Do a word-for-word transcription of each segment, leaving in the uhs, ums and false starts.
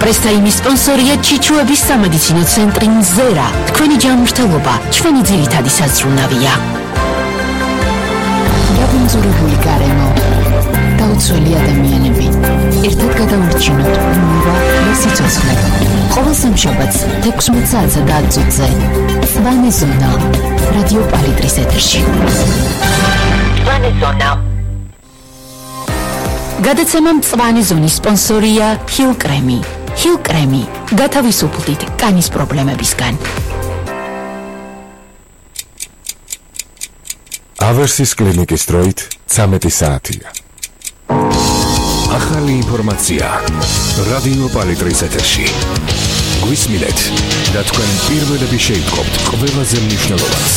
პრესტაიმის სპონსორია ჩიჩუების სამედიცინო ცენტრი მზერა. თქვენი ჯანმრთელობა ჩვენი ძირითადი საზრუნავია. დაბინძურებული გარემო, დაუცველი ადამიანები, ერთად გადავრჩინოთ ნურვა და სიცოცხლე. ყოველ სამშაბათს ექვსმეტ საათსა და ათი წუთზე მწვანე ზონა რადიო პალიტრის ეთერში. მწვანე ზონა. გადაცემა მწვანე ზონის სპონსორია ჰილ კრემი. ჰილ კრემი გათავისუფლდით კანის პრობლემებისგან. ავერსის კლინიკის დროით ცამეტი საათია. ახალი ინფორმაცია რადიო პალიტრის ეთერში. გვისმინეთ და თქვენ პირველები შეიტყობთ ყველაზე მნიშვნელოვანს.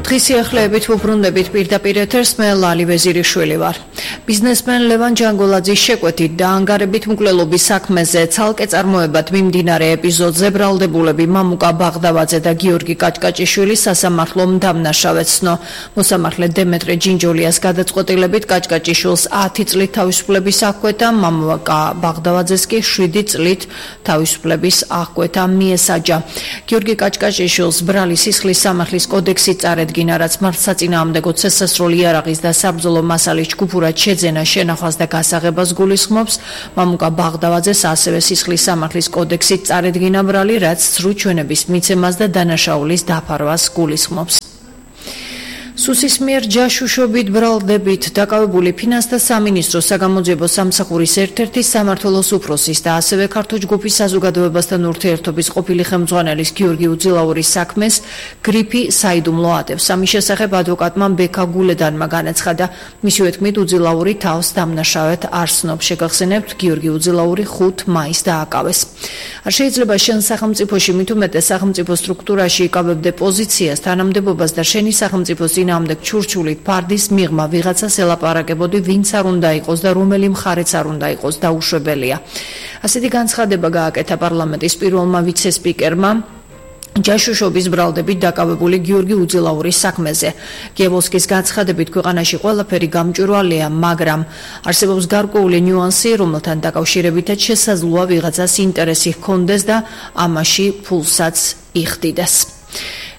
დღის სიახლეებით ვუბრუნდებით პირდაპირ ეთერს, მე ლალი ვეზირიშვილი ვარ. ბიზნესმენ ლევან ჯანგოლაძის შეკვეთით და ანგარებით მკვლელობის საქმეზე ცალკე წარმოებად მიმდინარე ეპიზოდზე ბრალდებულები მამუკა ბაღდავაძე და გიორგი კაჭკაჭიშვილი სასამართლომ დამნაშავედ ცნო. მოსამართლე დემეტრე ჯინჯოლიას გადაწყვეტილებით კაჭკაჭიშვილს ათი წლით თავისუფლების აღკვეთა, მამუკა ბაღდავაძეს კი შვიდი წლით თავისუფლების აღკვეთა მიესაჯა. გიორგი კაჭკაჭიშვილს ბრალი სისხლის სამართლის კოდექსი წარედგინა, რაც მართლსაწინააღმდეგო ცესასროლი იარაღის და საბრძოლო მასალის ჯგუფურად შეძენა, შენახვას და გასაღებას გულისხმობს. მამუკა ბაღდავაძეს ასევე სისხლის სამართლის კოდექსით წარედგინა ბრალი, რაც ცრუ ჩვენების მიცემას და დანაშაულის დაფარვას გულისხმობს. სუსის მიერ ჯაშუშობით ბრალდებით დაკავებული ფინანსთა სამინისტროს საგამოძიებო სამსახურის ერთ-ერთი სამმართველოს უფროსის და ასევე ქართულ ჯგუფის საზოგადოებასთან ურთიერთობის ყოფილი ხელმძღვანელის გიორგი უძილაურის საქმეს გრიფი საიდუმლო ატევს. ამის შესახებ ადვოკატმა ბექა გულედანმა განაცხადა. მისივე თქმით, უძილაური თავს დამნაშავედ არ ცნობს. შეგახსენებთ, გიორგი უძილაური ხუთ მაისს დააკავეს. არ შეიძლება შენ სახელმწიფოში მით უმეტეს სახელმწიფო სტრუქტურაში იკავებდე პოზიციას, თანამდებობას და შენი სახელმწიფოს ამდენ ჩურჩულით ფარდის მიღმა ვიღაცას ელაპარაკებოდი, ვინც არ უნდა იყოს და რომელი მხარეც არ უნდა იყოს დაუშვებელია. ასეთი განცხადება გააკეთა პარლამენტის პირველმა ვიცე-სპიკერმა ჯაშუშობის ბრალდებით დაკავებული გიორგი უძილაურის საქმეზე. გიებოვსკის განცხადებით, ქვეყანაში ყველაფერი გამჭვირვალეა, მაგრამ არსებობს გარკვეული ნიუანსი, რომელთან დაკავშირებითაც შესაძლოა ვიღაცას ინტერესი ჰქონდეს და ამაში ფულსაც იხდიდეს.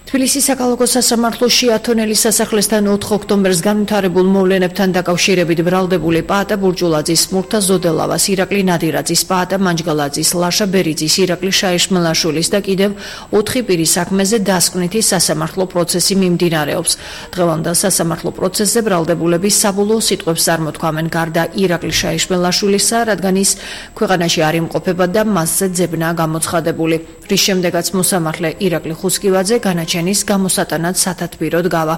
თბილისის საქალაქო სასამართლოში ათონელის სასახლესთან ოთხ ოქტომბერს განვითარებულ მოვლენებთან დაკავშირებით ბრალდებული პაატა ბურჯულაძის, მურთა ზოდელავას, ირაკლი ნადირაძის, პაატა მანჯგალაძის, ლაშა ბერიძის, ირაკლი შაიშმელაშვილის და კიდევ ოთხი პირის საქმეზე დასკვნითი სასამართლო პროცესი მიმდინარეობს. დღევანდელ სასამართლო პროცესზე ბრალდებულები საბოლოო სიტყვებს წარმოთქვამენ გარდა ირაკლი შაიშმელაშვილისა, რადგან ის ქვეყანაში არ იმყოფება და მასზე ძებნა გამოცხადებული. რის შემდეგაც მოსამართლე ირაკლი ხუსკივაძე განაჩენის გამოსატანად სათათბიროდ გავა.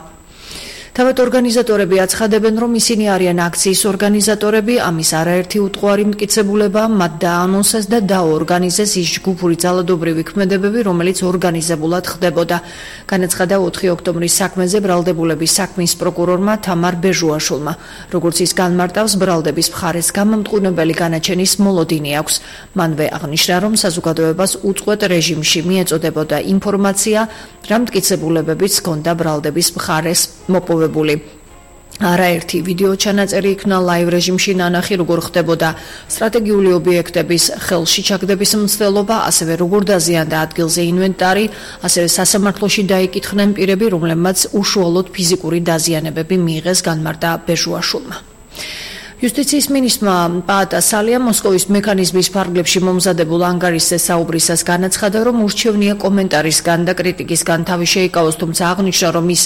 თავად ორგანიზატორები აცხადებენ, რომ ისინი არიან აქციის ორგანიზატორები, ამის არაერთი უტყუარი მტკიცებულება მათ დაანონსეს და დაორგანიზეს ის ჯგუფური ძალადობრივი ქმედებები, რომელიც ორგანიზებულად ხდებოდა. განაცხადა ოთხი ოქტომბრის საქმეზე ბრალდებულების საქმის პროკურორმა თამარ ბეჟუაშვილმა. როგორც ის განმარტავს, ბრალდების მხარეს გამამტყუნებელი განაჩენის მოლოდინი აქვს. მანვე აღნიშნა, რომ საზოგადოებას უწყვეტ რეჟიმში მიეწოდებოდა ინფორმაცია, რა მტკიცებულებებიც ჰქონდა ბრალდების მხარეს მოპოვებული. არაერთი ვიდეო ჩანაწერი იქნა ლაივ რეჟიმში ნანახი, როგორ ხდებოდა სტრატეგიული ობიექტების ხელში ჩაგდების მცდელობა, ასევე როგორ დაზიანდა ადგილზე ინვენტარი, ასევე სასამართლოში დაიკითხნენ პირები, რომლებმაც უშუალოდ ფიზიკური დაზიანებები მიიღეს, განმარტა ბეჟუაშვილმა. იუსტიციის მინისტრმა პაატა სალია მოსკოვის მექანიზმის ფარგლებში მომზადებულ ანგარიშზე საუბრისას განაცხადა, რომ ურჩევნია კომენტარისგან და კრიტიკისგან თავი შეიკავოს, თუმცა აღნიშნა, რომ ის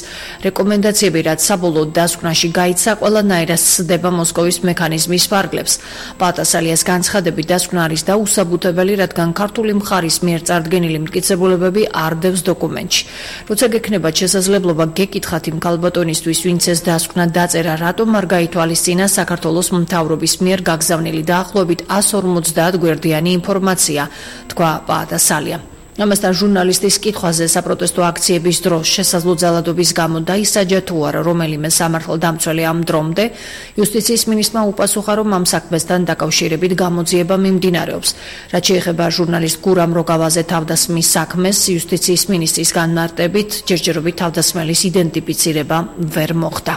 რეკომენდაციები, რაც საბოლოო დასკვნაში გაიცა, ყველანაირად სცდება მოსკოვის მექანიზმის ფარგლებს. პაატა სალიას განცხადებით, დასკვნა არის დაუსაბუთებელი, რადგან ქართული მხარის მიერ წარდგენილი მტკიცებულებები არ დევს დოკუმენტში. როცა გექნებათ შესაძლებლობა გეკითხათ იმ ქალბატონისთვის, ვინც ეს დასკვნა დაწერა, რატომ არ გაითვალისწინა საქართველოს მთავრობის მიერ გაგზავნილი დაახლოებით ასორმოცდაათ გვერდიანი ინფორმაცია, თქვა პაატა სალიამ. ამასთან ჟურნალისტის კითხვაზე საპროტესტო აქციების დროს შესაძლო ძალადობის გამო დაისაჯა თუ არა რომელიმე სამართალდამცველი ამ დრომდე, იუსტიციის მინისტრმა უპასუხა, რომ ამ საქმესთან დაკავშირებით გამოძიება მიმდინარეობს. რაც შეეხება ჟურნალისტ გურამ როგავაზე თავდასხმის საქმეს, იუსტიციის მინისტრის განმარტებით ჯერჯერობით თავდასხმელის იდენტიფიცირება ვერ მოხდა.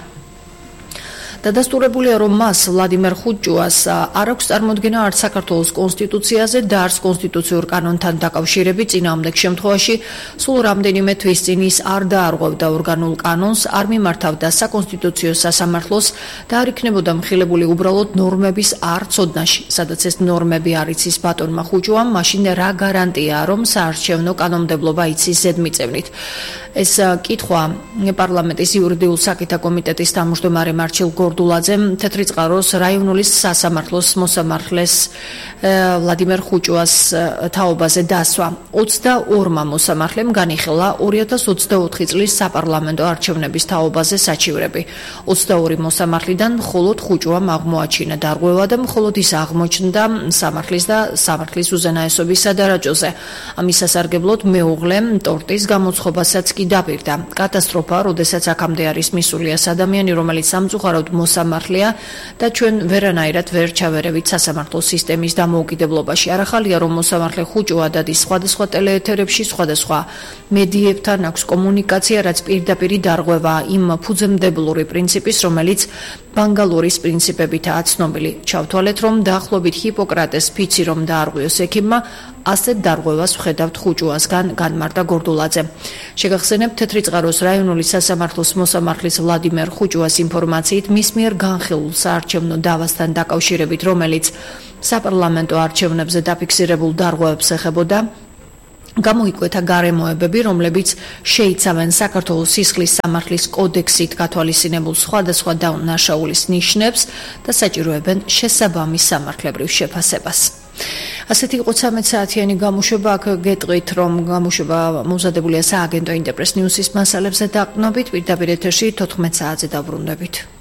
დადასტურებულია, რომ მას ვლადიმერ ხუჭუას არ აქვს წარმოდგენა არც საქართველოს კონსტიტუციაზე და არც კონსტიტუციურ კანონთან დაკავშირებით. წინააღმდეგ შემთხვევაში სულ რამდენიმე თვის წინ ის არ დაარღვევდა ორგანულ კანონს, არ მიმართავდა საკონსტიტუციო სასამართლოს და არ იქნებოდა მხილებული უბრალოდ ნორმების არ ცოდნაში. სადაც ეს ნორმები არ იცის ბატონმა ხუჭუამ, მაშინ რა გარანტია, რომ საარჩევნო კანონმდებლობა იცის ზედმიწევნით. ეს კითხვა პარლამენტის იურიდიულ საკითხთა კომიტეტის თავმჯდომარე მარჩილ გორდულაძემ თეთრი წყაროს რაიონული სასამართლოს მოსამართლეს ვლადიმერ ხუჭუას თაობაზე დასვა. ოცდაორმა მოსამართლემ განიხილა ორი ათას ოცდაოთხი წლის საპარლამენტო არჩევნების თაობაზე საჩივრები. ოცდაორი მოსამართლიდან მხოლოდ ხუჭუამ აღმოაჩინა დარღვევა და მხოლოდ ის აღმოჩნდა სამართლის და სამართლის უზენაესობის სადარაჯოზე. ამის სასარგებლოდ მეუღლემ ტორტის გამოცხობასაც კი დაპირდა. კატასტროფა, როდესაც აქამდე არის მისული ეს ადამიანი, რომელიც სამწუხაროდ მოსამართლეა და ჩვენ ვერანაირად ვერ ჩავერევით სასამართლო სისტემის დამოუკიდებლობაში. არ ახალია, რომ მოსამართლე ხუჭუა დადის სხვადასხვა ტელეეთერებში, სხვადასხვა მედიებთან აქვს კომუნიკაცია, რაც პირდაპირი დარღვევა იმ ფუძემდებლური პრინციპის, რომელიც ბანგალურის პრინციპებითაა ცნობილი. ჩავთვალეთ, რომ დაახლოებით ჰიპოკრატეს ფიცი რომ დაარღვიოს ექიმმა, ასეთ დარღვევას ვხედავთ ხუჭუასგან, განმარტა გორდულაძე. შეგახსენებთ, თეთრი წყაროს რაიონული სასამართლოს მოსამართლის ვლადიმერ ხუჭუას ინფორმაციით, მის მიერ განხილულ საარჩევნო დავასთან დაკავშირებით, რომელიც საპარლამენტო არჩევნებზე დაფიქსირებულ დარღვევებს ეხებოდა, გამოიკვეთა გარემოებები, რომლებიც შეიცავენ საქართველოს სისხლის სამართლის კოდექსით გათვალისწინებულ სხვადასხვა დაუნაშაულის ნიშნებს და საჭიროებენ შესაბამის სამართლებრივ შეფასებას. ასეთი იყო ცამეტ საათიანი გამოშვება. აქ გეტყვით, რომ გამოშვება მომზადებულია სააგენტო ინტერპრეს ნიუსის მასალებზე დაყრდნობით. პირდაპირ ეთერში თოთხმეტ საათზე დაბრუნდებით.